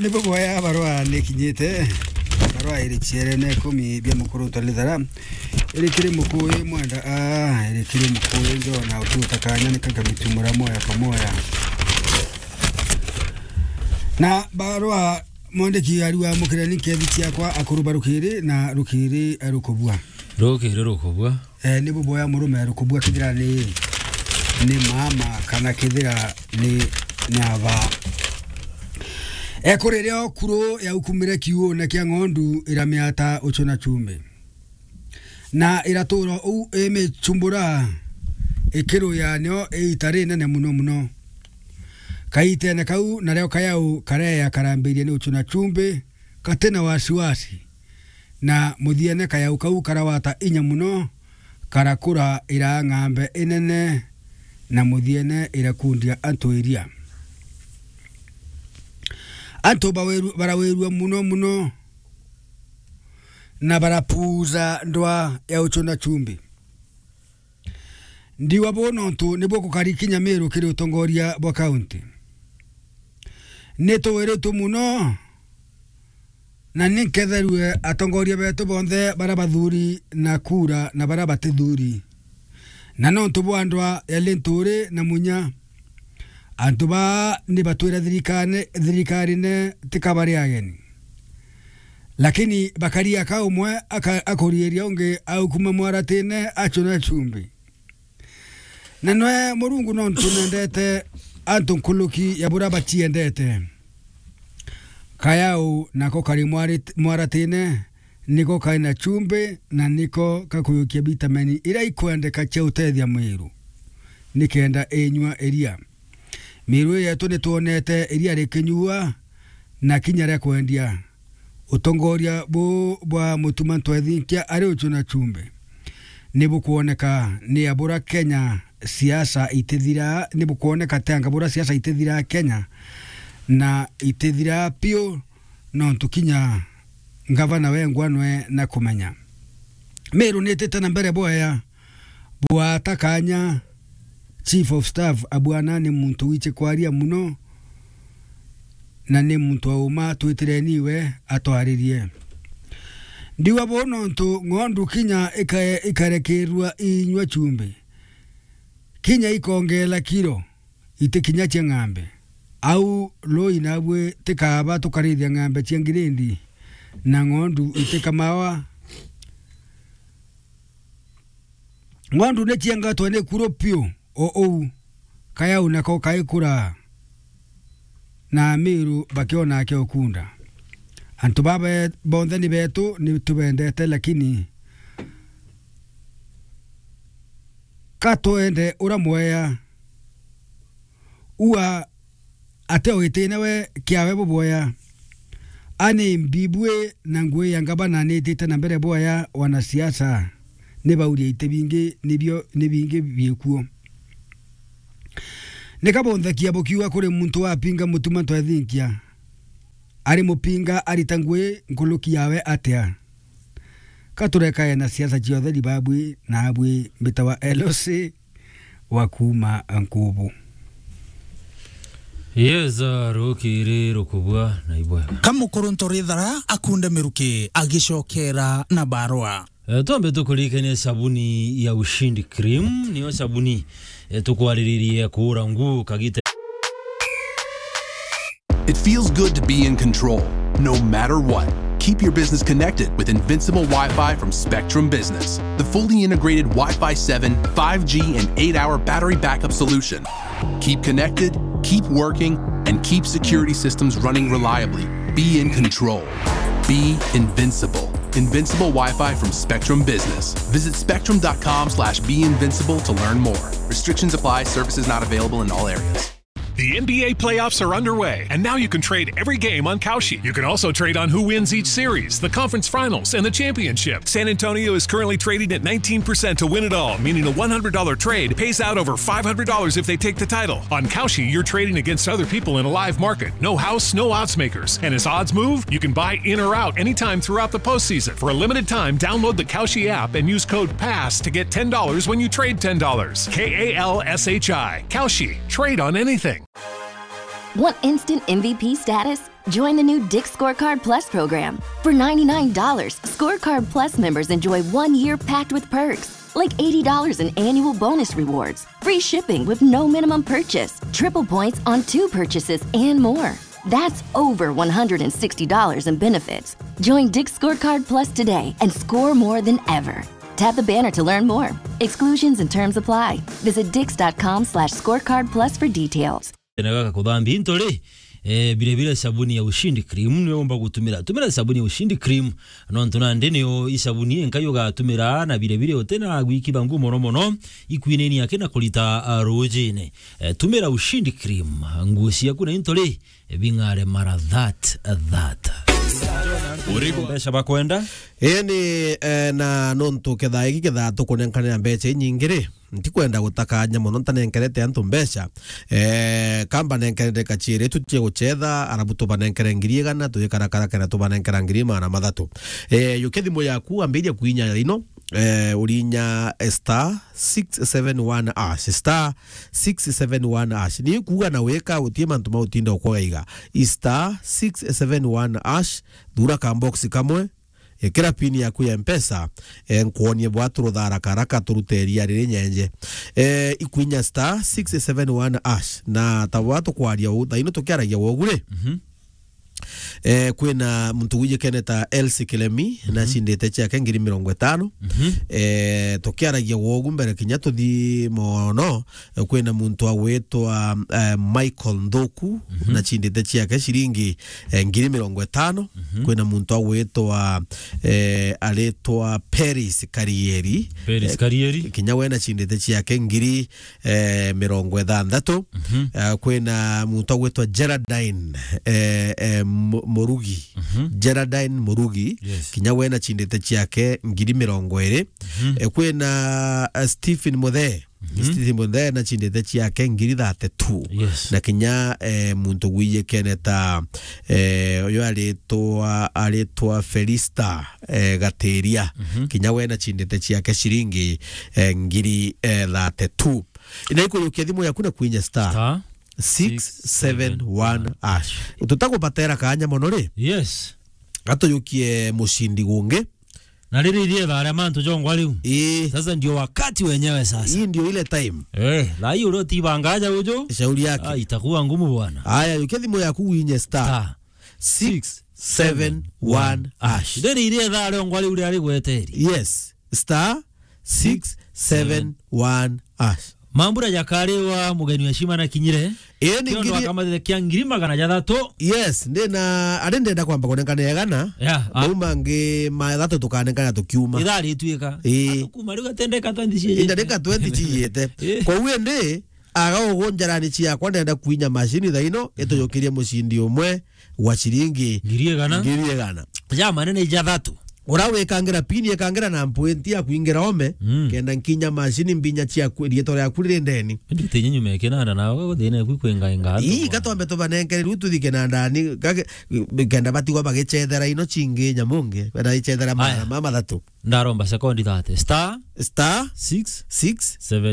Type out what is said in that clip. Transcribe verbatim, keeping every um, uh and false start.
Ni buboya barua ni kinyite. Barua iri ciere na ikumi bia Mukuruntu Lithara. Iri kiri Mukuyu mwenda, ah, iri kiri Mukuyu njo na ututa kanya ni kaka mitumura moya kamoya. Na barua mwandiki ariwa mukirani nkethi ciakwa akuru ba rukiri na rukiri rukubua. Rukiri rukubua. Eh, ni buboya murume rukubua kithira ni, ni mama kana kithira ni, ni aba. Ekuriria okuru yaukumire kiuune kia ng'ondu iramiata uchu na chumbi. Na iratura uu imichumbura ikiruya nio iita rinene muno muno. Kaitene kau nario kayau kareya karambirie ni uchu na chumbi, katina wasiwasi. Na muthiene kayau kau karawata inya muno, karakura iraa ng'ambe inene, na muthiene irakundia antu iria. Antu baweru-, barawirua muno muno, na barapuuza ndwa ya uchu na chumbi. Ndiwa buu nontu nibuo kukari kinya Miru kiri utongoria bwa kaunti. Ni tuwiritwe muno, na ni nketherue atongoria betu bonthe, baria bathuri na kura na baria batithuri. Na nontu bwa ndwa ya Linturi na Munya, antu baa ni batwira thirikane-, thirikarine tikabari ageni. Lakini bakari aka umwe aka-, akuriiria ungi aukuma mwaratine achuna chumbi. Na nwe Murungu nontu nendete antu nkuruki ya buria baciendete. Kayau nako kari mwarit-, mwaratine, niko kari na chumbi, na niko kakuyukia vitamini iria ikwendeka cia utethia mwiru, nikenda inyua iria. Miru yetu nitwonete iria rikinyua na kinya ria kwendia. Utongoria buu bwa Mutuma Ntwethinkia ari uchu na chumbi ni bukwoneka ni abura Kenya siasa itithira, ni bukwoneka tanga bura siasa itithira Kenya, na itithira piu, nontu kinya ngavana wengwa nwe na kumenya. Miru nitite na mbere bwaya. Bwata kanya, Chief of Staff abwana ni muntu wichi kwaria muno, na ni muntu auma, twitireni iwe atwaririe. Ndiwa buu nontu ng'ondu kinya ika-, ikarekerua inyua chumbi, kinya ikongela kiro, itikinya cia ng'ambe. Au rui nabui tikaba tukarithia ng'ambe cia ngirindi, na ng'ondu itikamawa. Ng'ondu ni ciengatwe ni kuru piu o uu, kayau nako kaikura, na Amiru bakiona akio kunda. Antu baba bonthe ni betu, ni tubendete, lakini ka twende ura mweya. Ua ate o itine we kiawe bubwoya. Ani mbibui na ngui ya ngabana nitite na mbere bwoya, wanasiasa ni bauria iti bingi, nibio, ni bingi biikuo. Ni kabonthakia bukiuga kuri muntu wapinga Mutuma Ntwethinkia, ari mupinga arita ngui nkuruki yawe atia? Ka turekae na siasa cia utheri babui, na abui mbitawa L C wa kuuma Nkubu. Yes, uh, rukiri rukubwa na ibwega. Ka mukuru Ntorithara akunde miruki agicokera na barua. Eh, twambe tukuririkanie sabuni ya Ushindi Cream, niyo sabuni, eh, tukwariririe kuura ngu kagita. It feels good to be in control, no matter what. Keep your business connected with Invincible Wi-Fi from Spectrum Business, the fully integrated Wi-Fi seven, five G, and eight-hour battery backup solution. Keep connected, keep working, and keep security systems running reliably. Be in control. Be invincible. Invincible Wi-Fi from Spectrum Business. Visit spectrum dot com slash be invincible to learn more. Restrictions apply. Services not available in all areas. The N B A playoffs are underway, and now you can trade every game on Kalshi. You can also trade on who wins each series, the conference finals, and the championship. San Antonio is currently trading at nineteen percent to win it all, meaning a one hundred dollar trade pays out over five hundred dollars if they take the title. On Kalshi, you're trading against other people in a live market. No house, no odds makers. And as odds move, you can buy in or out anytime throughout the postseason. For a limited time, download the Kalshi app and use code pass to get ten dollars when you trade ten dollars. K A L S H I. Kalshi. Trade on anything. Want instant M V P status? Join the new Dick's Scorecard Plus program. For ninety-nine dollars, Scorecard Plus members enjoy one year packed with perks, like eighty dollars in annual bonus rewards, free shipping with no minimum purchase, triple points on two purchases, and more. That's over one hundred sixty dollars in benefits. Join Dick's Scorecard Plus today and score more than ever. Tap the banner to learn more. Exclusions and terms apply. Visit dicks.com slash scorecard plus for details. Tena gaka kuthambia into ri, eh, bire bire sabuni ya Ushindi Cream niyo umba gutumira. Tumira sabuni ya Ushindi Cream, nontu nandi niyo isabuni inka yugatumira, na bire bire utena gwikitha nguo mono mono, ikwinini yake na kurita, ah, rujine. Eh, tumira Ushindi Cream, nguo ciaku na into ri, bing'are mara that, that. Uriku mbeca bakwenda? Ii ni, eh, na nontu kethaa giki kethaa tukunenkanira mbeca inyingi ri, ntikwenda gutakanya mono ntanenkerete antu mbeca. Eh, kamba nenkerete kachiiri tu cia guchetha, arabu tubanenkere ngiri igana, tuyikarakara kenda tubanenkera ngiri magana mathatu. Eh, yukia thimu yaku, ambiria kuinya ino, eh, urinya star six seven one hash, star six seven one hash. Ni kuuga na wika, utie mantu ma utinda ukwaiga. Star six seven one hash, thura ka box kamwe, ikira pin yaku ya Mpesa, eh, nkuonie bwa turuthara karaka turuteria riri nyenje. Eh, ikwinya star six seven one hash, na ta bwa tukwaria uu, thaino tukiaragia wogu ri. Mhm. Eh, kwina muntu wijikene ta Elsie Kilemi, mhm, nacindite ciake ngiri mirongo itano. Mhm. Eh, tukiaragia wogu mbere kinya tuthi mono, eh, kwina muntu agwitwa, eh, Michael Nthuku, mhm, nacindite ciake ciringi, eh, ngiri mirongo itano. Mhm. Kwina muntu agwitwa, eh, aritwa Peris Karieri. Peris, eh, Karieri. Kinya we nacindite ciake ngiri eh, mirongo ithanthatu. Mhm. Eh, kwina muntu agwitwa Geraldine, eh, eh, Mu-, Murugi. Mhm. Geraldine Murugi. Yes. Kinya we nacindite ciake ngiri mirongo iri. Mhm. Eh, kwina, eh, Stephen Muthee. Mhm. Stephen Muthee nacindite ciake ngiri thirty-two. Yes. Na kinya, eh, muntu gwijikene ta, eh, uyu aritwa, aritwa Felista, eh, Gatiria. Mhm. Kinya we nacindite ciake ciringi, eh, ngiri, eh, thirty-two. Na ikujukia thimu yaku na kwinya star six seven one hash. Tutakubatera kanya mono ri. Yes. Gatujukie mucindi gungi. Na riri ithietha aria mantu jongwa riu. Ii. Sasa ndio wakati wenyewe sasa. Hii ndio ile time. Eh, na hiyo leo tiba ngaja ujo. Shauri yake. Ah, itakuwa ngumu bwana. Aya, jukia thimu yaku winye star star six seven one hash. Riri ithietha aria ongwa riu ria rigweteri. Yes. Star six seven one hash. Mambura jakariwa mugeni wa heshima na kinyire. Ii ni ngiri akamathiria kia ngiri magana jathatu. Yes, ndina, ari ndenda kwamba kunenkana igana. Yeah, ah. Mau mangi mathatu tukanenkana tukiuma. Ithaa rituika. Ii. Atukuma riu gatendeka twenty ciete. Indarika twenty ciete. Ii. Kwa hiyo ndi, aga ugu njarani ciakwa ndenda kwinya mashini thaino, mhm, itujukirie mucindi umwe wa ciringi ngiri igana. Ngiri igana. Ja manene ijathatu. Ura wikangira pini, ikangira na mpointi ya kwingira ome, mm, kenda nkinya mashini mbinya cia ku-, rietwa riaku riri ndeni. Indi ti nyinyu mekinanda na we thina kwi kwingainga antu. Ii, bwana. Gatwambe tubanenkere riu tuthike na ndani, gake, kenda batigwa bagicethera ino cingi nyamungi, benda icethera mara mama thatu. Ndaromba sekondi thirty. Star star six six seven.